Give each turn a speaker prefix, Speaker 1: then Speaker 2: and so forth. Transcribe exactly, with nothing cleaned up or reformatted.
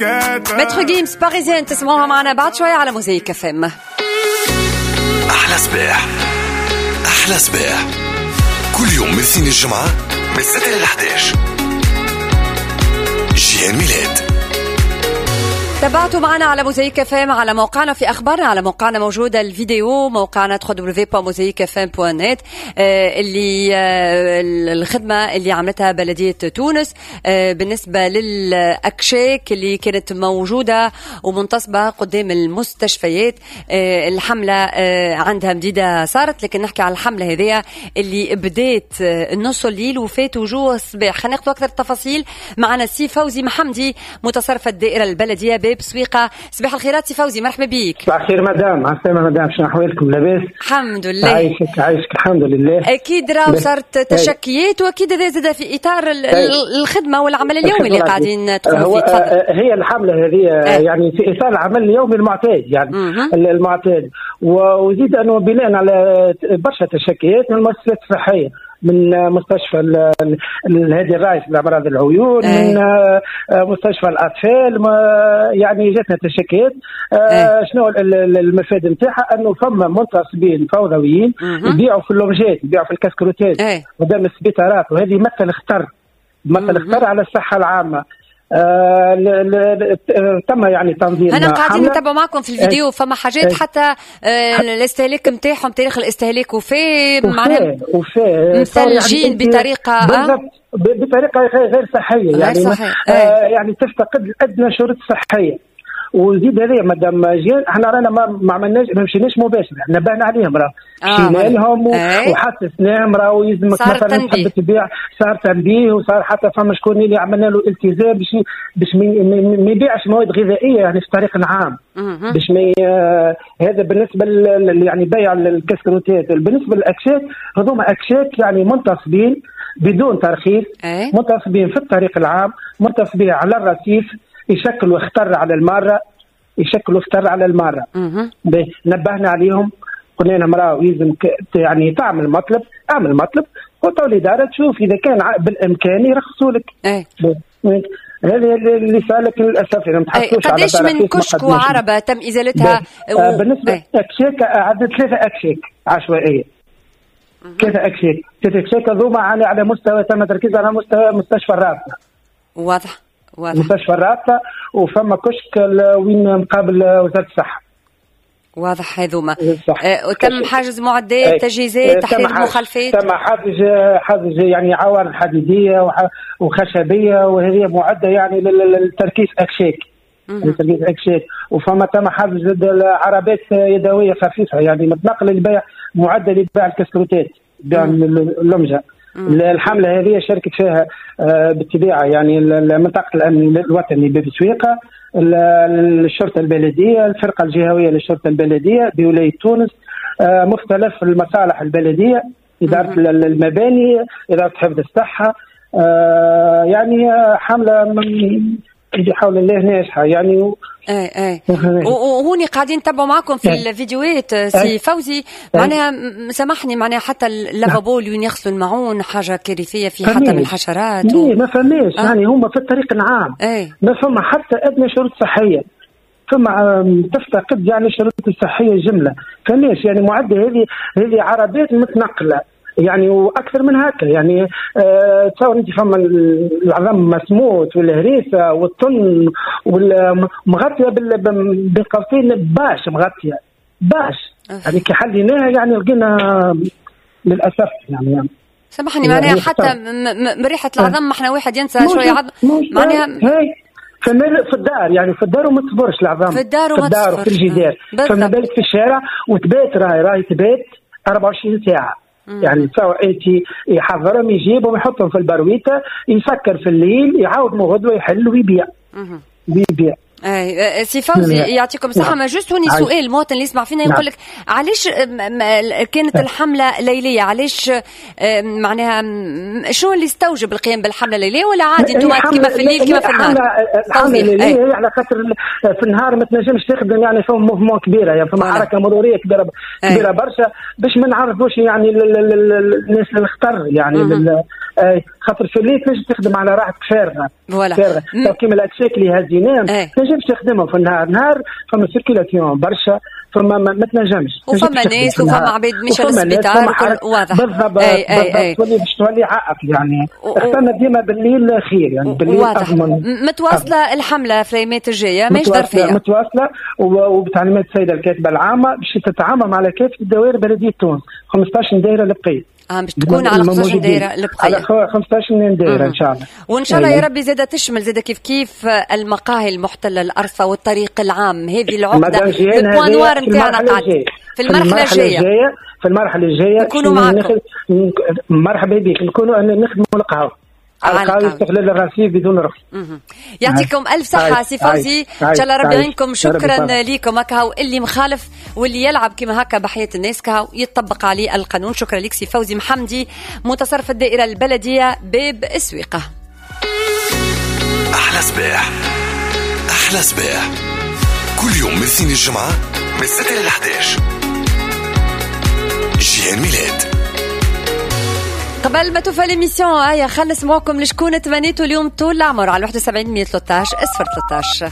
Speaker 1: Maître Gims Parisienne تسمعوها معنا بعد شوية على موزايك اف ام.
Speaker 2: احلى صباح، احلى صباح كل يوم من اثنين الجمعة من ستة ل إحدى عشر. جيهان ميلاد.
Speaker 1: تابعتوا معنا على موزايك اف ام، على موقعنا في اخبارنا، على موقعنا موجودة الفيديو، موقعنا دبليو دبليو دبليو دوت موزايك اف ام دوت نت، اللي آه، الخدمة اللي عملتها بلديه تونس آه، بالنسبة للاكشاك اللي كانت موجودة ومنتصبه قدام المستشفيات. آه، الحملة عندها مديدة صارت، لكن نحكي على الحملة هذيا اللي بدات نص الليل وفات وجوه الصباح. خلينا ناخذ اكثر التفاصيل معنا السي فوزي محمدي متصرف الدائرة البلدية باب سويقة. صباح الخيرات سي فوزي، مرحبا بيك.
Speaker 3: صباح الخير مدام، عسلامة مدام، شنو احوالكم؟ لاباس؟
Speaker 1: الحمد لله.
Speaker 3: عايشك عايشك الحمد لله.
Speaker 1: اكيد راهو صارت تشكيات، واكيد هذا زاد في اطار الخدمة والعمل اليومي اللي قاعدين تقوموا فيه.
Speaker 3: تفضل. هي الحملة هذه أه. يعني في اطار العمل اليومي المعتاد، يعني مه. المعتاد، وزيد انه بناء على برشا تشكيات من المؤسسات الصحية، من مستشفى الهادي الرايس لامراض العيون، أي. من مستشفى الاطفال، يعني جاتنا تشكيات. شنو المفاد نتاعها؟ انه فما منتصبين فوضويين يبيعوا في اللومجات، يبيعوا في الكاسكروتات قدام السبيطارات، وهذه مثل خطر، مثل خطر على الصحة العامة. آه تم يعني تنظيم.
Speaker 1: انا قاعدين نتابع معكم في الفيديو، فما حاجات حتى آه الاستهلاك نتاعهم، تاريخ الاستهلاك وفيه معناها
Speaker 3: وفيه
Speaker 1: مثلجين يعني بطريقة
Speaker 3: بالضبط بطريقة غير صحية، يعني صحيح. آه يعني تفتقد ادنى شروط صحية. وزيد هذه مدام جيل احنا رانا ما, ما عملناش، ما مشيناش مباشر، نبهنا عليهم، راه مشينا لهم وحسسناهم راهو يلزمك مثلا تحب تبيع، صار تنبيه، وصار حتى فما شكون اللي عملنا له التزام باش باش ما يبيعش مواد غذائية يعني في الطريق العام، باش ما آه هذا بالنسبة يعني بيع الكسكروتات. بالنسبة للاكشاك، هذوما اكشاك يعني منتصبين بدون ترخيص، منتصبين في الطريق العام، منتصبين على الرصيف، يشكلوا خطر على المارة، يشكلوا خطر على المارة. نبهنا عليهم، قلنا لهم راهو يلزم يعني تعمل مطلب، اعمل مطلب وتو الادارة تشوف اذا كان بالامكان يرخصوا لك. هذا اللي صار، لكن للاسف ما تحصلوش على
Speaker 1: قداش من كشك وعربه تم ازالتها؟
Speaker 3: و... بالنسبة اكشاك عدد ثلاثة اكشاك عشوائية، ثلاثة اكشاك، ثلاثة اكشاك هذوما على على مستوى تم تركيز على مستوى مستشفى الرابطة.
Speaker 1: واضح واضح.
Speaker 3: مستشفى الرابطة، وفما كشك وين مقابل وزارة الصحة.
Speaker 1: واضح هذوما. أه تم حجز معدات، تجهيزات، تحرير مخالفات.
Speaker 3: تم حجز حجز يعني عوارض حديديه وخشبيه، وهذه معده يعني للتركيز اكشاك، لتركيز اكشاك. وفما تم حجز عربات يدوية خفيفة يعني متنقله لبيع، معده لبيع الكسكروتات، بيع اللمجه. الحملة هذه شاركت فيها بالطبيعة يعني منطقة الأمن الوطني باب سويقة، الشرطة البلدية، الفرقة الجهوية للشرطة البلدية بولاية تونس، مختلف المصالح البلدية، إدارة المباني، إدارة حفظ الصحة. يعني حملة من بحول الله ناجحة يعني.
Speaker 1: اي اي وهوني قاعدين نتبعوا معكم في أي. الفيديوهات سي فوزي، معناها سامحني، معناها حتى اللافابو اللي وين يغسلوا المعون حاجة كارثية، في حتى من الحشرات
Speaker 3: و... ما فماش أه؟ يعني هما في الطريق العام أي. ما فما حتى ادنى شروط صحية، فما تفتقد يعني شروط الصحية جملة، فماش يعني معده. هذه هذه عربات متنقله يعني، واكثر من هكا يعني. أه تصور انت فما العظم مسموت والهريسه والطن والمغطيه بالقوسين باش مغطيه باش يعني كي حليناها يعني لقينا للاسف يعني, يعني
Speaker 1: سامحني معناها يعني حتى من ريحه العظم ما احنا واحد ينسى شوية عظم معناها
Speaker 3: في الدار يعني، في الدار وما تصبرش العظام
Speaker 1: في الدار وما
Speaker 3: تصبرش في الجدار، فما بالك في الشارع وتبات، راهي راهي تبات أربعة وعشرين ساعة. يعني تصور انت يحضرهم يجيبهم يحطهم في البرويته، يسكر في الليل، يعاود من غدوه يحل ويبيع ويبيع.
Speaker 1: اي سي فوزي يعطيكم الصحة. ما juste هوني سؤال المواطن اللي يسمع فينا يقول لك علاش كانت الحملة ليليه؟ علاش معناها شنو اللي استوجب القيام بالحمله الليلية ولا عادي انتم كيما في الليل كيما في النهار؟
Speaker 3: الحملة الليلية على خاطر في النهار ما تنجمش تخدم، يعني فما mouvement كبيرة، يعني فما حركة مروريه كبيرة كبيرة برشا باش ما نعرضوش يعني الناس للخطر، يعني خاطر في الليل تنجم تخدم على راحتك فارغة فارغة. كيما الاكساك اللي هزيناهم تنجمش تخدمهم في النهار، نهار فما circulation برشا، فما ما تنجمش،
Speaker 1: وفما ناس وفما عباد مشى للسبيطار،
Speaker 3: واضح بالضبط. أي أي أي. تولي باش تولي عائق يعني. اخترنا ديما بالليل خير، يعني بالليل
Speaker 1: واضح. متواصلة الحملة في الايامات الجاية ماهيش ظرفيه،
Speaker 3: متواصلة وبتعليمات السيدة الكاتبة العامة باش تتعامل على كافة الدوائر بلديه تونس خمسطاش دائرة البقية.
Speaker 1: اه باش تكون على خمسطاش دائرة البقية،
Speaker 3: على خمسطاش دائرة ان شاء الله.
Speaker 1: وان شاء الله يا ربي زاده تشمل زاده كيف كيف المقاهي المحتلة الارصه والطريق العام، هذه العقدة ال point noir نتاعنا قاعد في المرحلة الجاية.
Speaker 3: في المرحلة الجاية
Speaker 1: نكونوا معكم.
Speaker 3: مرحبا بك، نكونوا نخدموا القهوة على القهوة استغلال الرصيف بدون رخص.
Speaker 1: يعطيكم الف صحة سي فوزي، ان شاء الله ربي يعينكم. شكرا ليكم. هكا اللي مخالف واللي يلعب كما هكا بحياة الناس كهو يتطبق عليه القانون. شكرا لك سي فوزي محمدي متصرف الدائرة البلدية باب السويقه.
Speaker 2: احلى صباح، احلى صباح كل يوم من اثنين الجمعة من ستة ل أحد عشر. جيهان ميلاد.
Speaker 1: قبل ما توفى l'émission هيا خلص معكم لشكون تمنيتوا اليوم طول العمر على واحد وسبعين مية وثلاثطاش صفر ثلاثطاش.